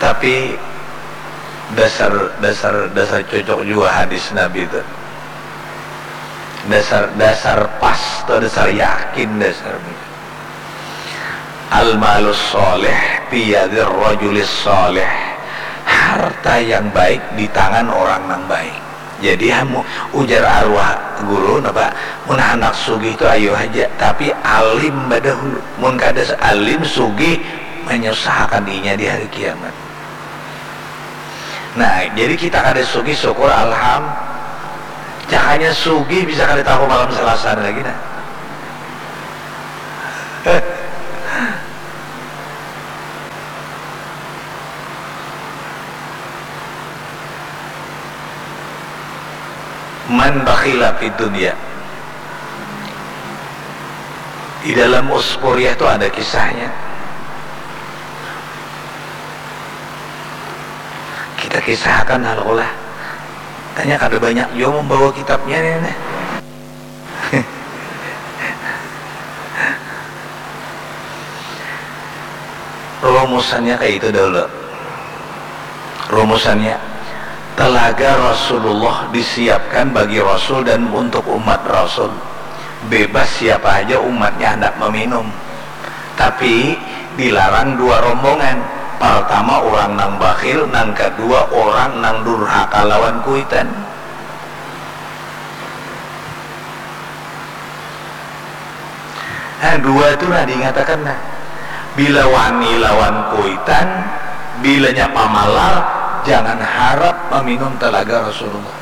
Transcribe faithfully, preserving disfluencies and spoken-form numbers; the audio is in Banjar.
Tapi dasar dasar dasar cocok juga hadis Nabi itu. Dasar dasar pas atau dasar yakin dasar. Al-malus soleh biyadir rojulis soleh. Harta yang baik di tangan orang yang baik. Jadi hamu ujar arwah guru napa, mun handak sugih tu ayu haja, tapi alim badahulu. Mun kada alim, sugih manyusahkan inya di hari kiamat. Nah, jadi kita kada sugih, syukur, alham. Jakanya sugih bisa kada tahu malam Selasa lagi nah. Man bakhila fid dunya. Di dalam Uspuriah tu ada kisahnya. Kita kisahkan hal ulah. Tanya kada banyak jua membawa kitabnya ni, nih. Rumusannya kayak itu dulu. Rumusannya, telaga Rasulullah disiapkan bagi Rasul dan untuk umat Rasul. Bebas siapa aja umatnya hendak meminum. Tapi dilarang dua rombongan. Pertama orang nang bakhil, nang kedua orang nang durhaka lawan kuitan. Nah, dua tu nah diingatakan nah. Bila wani lawan kuitan, bilanya pamalar, jangan harap maminum talaga Rasulullah.